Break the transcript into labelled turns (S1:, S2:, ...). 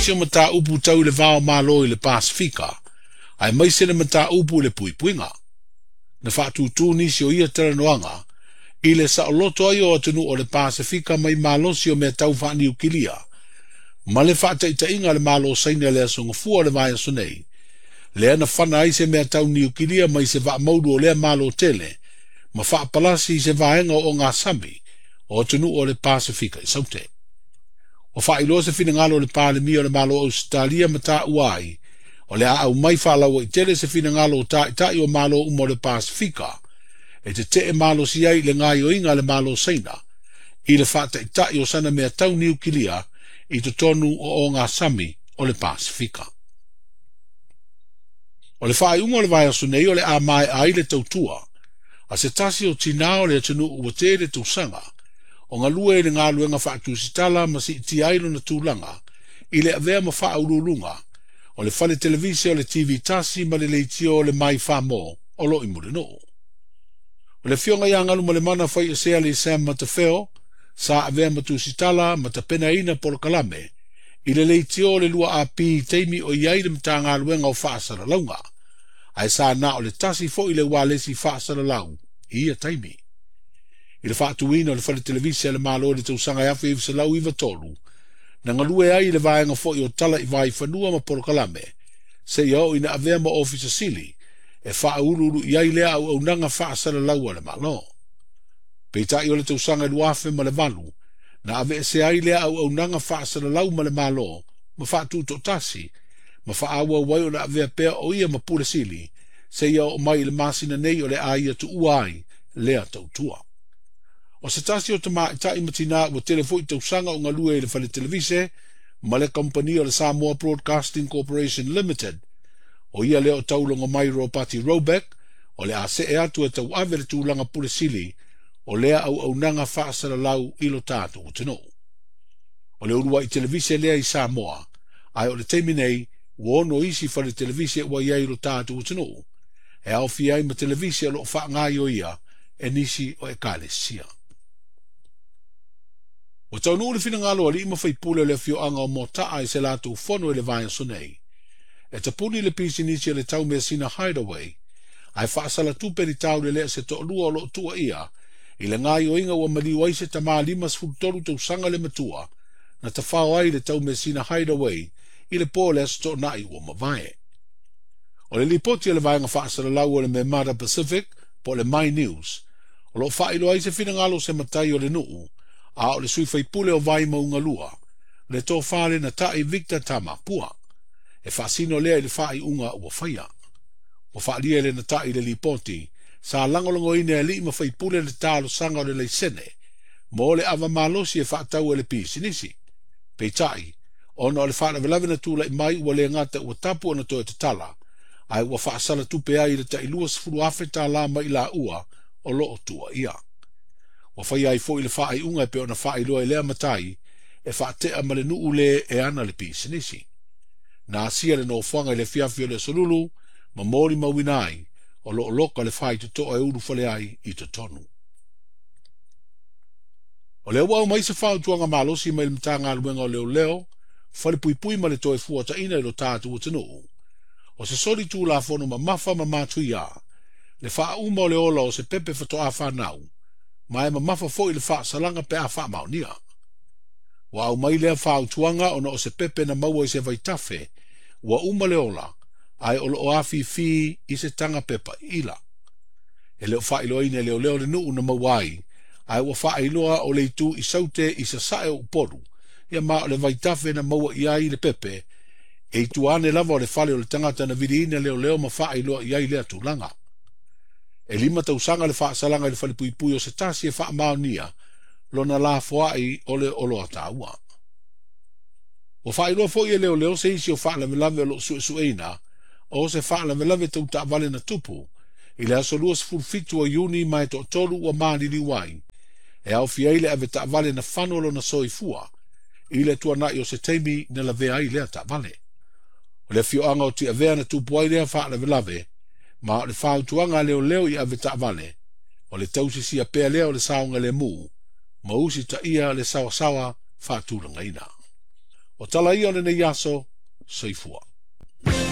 S1: nisi o mataupu tau i le va o Malo i le Pasefika, aemaise le mataupu i le puipuiga. Na faatūtū nisi o ia talanoaga i le saoloto ai o atunuu o le Pasefika mai malosi o mea tau faaniukilia, ma le faataitaiga a le Malo o Saina i le Aso Gafua o le vaiaso nei, lea na fana ai se mea tau niukilia mai se vaa maulu o lea Malo tele, ma faapalasi i se vaega o ogasami o atunuu o le Pasefika i Saute. Ua faailoa se finagalo o le Palemia o le Malo o Ausetalia ma taua ai, o le a aumai faalauaitele se finagalo o taitai o Malo uma o le Pasefika e tetee malosi ai i le gaoioiga a le Malo o Saina i le faataitai o sana mea tau niukilia i totonu o ogasami o le Pasefika. O le faaiuga o le vaiaso nei o le a maea ai le tautua a se tasi o tinā o le atunuu ua tele tausaga o galue i le galuega faatusitala ma siitia ai lona tulaga i le avea ma faauluuluga o le fale televise o le TV tasi ma le leitio o le Mai Famo o lo o i Mulinuu. O le afioga ia Galumalemana Faiesea Sam Matafeo sa avea ma tusitala ma tapenaina polokalame i le leitio o le 2AP i taimi o i ai le Matagaluega o Faasalalauga, ae sa na o le tasi foi le ualesi faasalalau i ia taimi. I le faatuina o le fale televise a le Malo i le tausaga 1993, na galue ai i le vaega foi o tala i vaifanua ma polokalame, seia oo ina avea ma ofisa sili e faauluulu i ai lea auaunaga faasalalau a le Malo. Peitai o le tausaga 2008, na aveesea ai lea auaunaga faasalalau ma le Malo ma faatutoatasi, ma faaauau ai ona avea pea o ia ma pule sili, seia oo mai i le masina nei o le a ia tuua ai lea tautua. O se tasi o tamaitai ma tinā ua tele foi tausaga o galue i le fale televise ma le kamupani o le Samoa Broadcasting Corporation Limited, o ia lea o Taulogomai Ropati Robeck, o le a see atu e tauave le tulaga pule sili o lea auaunaga faasalalau i lo tatou atunuu. O le uluai televise lea i Samoa, ae o le taimi nei ua ono isi fale televise ua i ai i lo tatou atunuu, e aofia ai ma televise o lo o faagaoioia e nisi o ekalesia. Ua taunuu le finagalo o alii ma faipule o le afioaga o Mota'a i se latou fono i le vaiaso nei, e tapuni le pisinisi o le taumeasina Hideaway, ae faasalatupe ni taulelea se toalua o lo o tuuaia i le gaoioiga ua maliu ai se tama 53 tausaga le matua na tafao ai le taumeasina Hideaway i le po o le Aso Toonai ua mavae. O le lipoti a le vaega faasalalau o le Memada Pacific po o le My News, o lo o faailoa ai se finagalo o se matai o le nuu, a o le sui faipule o Vaimauga 2, le tofa le Natai Victor Tamapua, e faasino lea i le faaiuga ua faia. Ua faaalia e le Natai i le lipoti, sa lagolagoina e alii ma faipule le talosaga o le laisene mo le ava malosi e faatau e le pisinisi. Peitai, ona o le faalavelave na tulai mai ua le gata ua tapu ona toe tatala, ae ua faasalatupe ai i le tai 20,000 tala mai laua o lo o tuuaia. Ua faia ai foi le faaiuga e pei ona faailoa i lea matai e faatea ma le nuu le e ana le pisinisi. Na asia le nofoaga i le afiafi o le Aso Lulu ma molimauina ai o lo o loka le faitotoa e ulufale ai i totonu. O lea ua aumai se fautuaga malosi mai le Matagaluega o Leoleo, Falepuipui ma le toe fuataina i lo tatou atunuu. O se soli tulafono mamafa ma matuia, le faauma o le ola o se pepe faatoa fanau, ma e mamafa foi le faasalaga pe a faamaonia. Ua aumai lea fautuaga ona o se pepe na maua i se vaitafe, ua uma le ola, ae o lo o afifi i se taga pepa ila. E le o faailoaina e leoleo le nuu na maua ai, ae ua faailoa o le itu i Saute i sasae o Upolu, ia ma o le vaitafe na maua i ai le pepe, e i tua ane lava o le fale o le tagata na viliina leoleo ma faailoa i ai lea tulaga. E 5 tausaga le faasalaga i le falepuipui o se tasi e faamaonia lona lafoai o le oloa taua. Ua faailoa foi e leoleo se isi o faalavelave o lo o suesueina o se faalavelave tau taavale na tupu i le aso 27 o Iuni ma e toatolu ua maliliu ai, e aofia ai le ave taavale na fano lona soifua i le tuanai o se taimi na lavea ai lea taavale. O le afioaga o Tiavea na tupu ai lea faalavelave, ma o le fautuaga a leoleo i ave taavale, o le tausisia pea lea o le saogalemu, ma usitaia le sawasawa faatulagaina. O tala ia o lenei aso, soifua.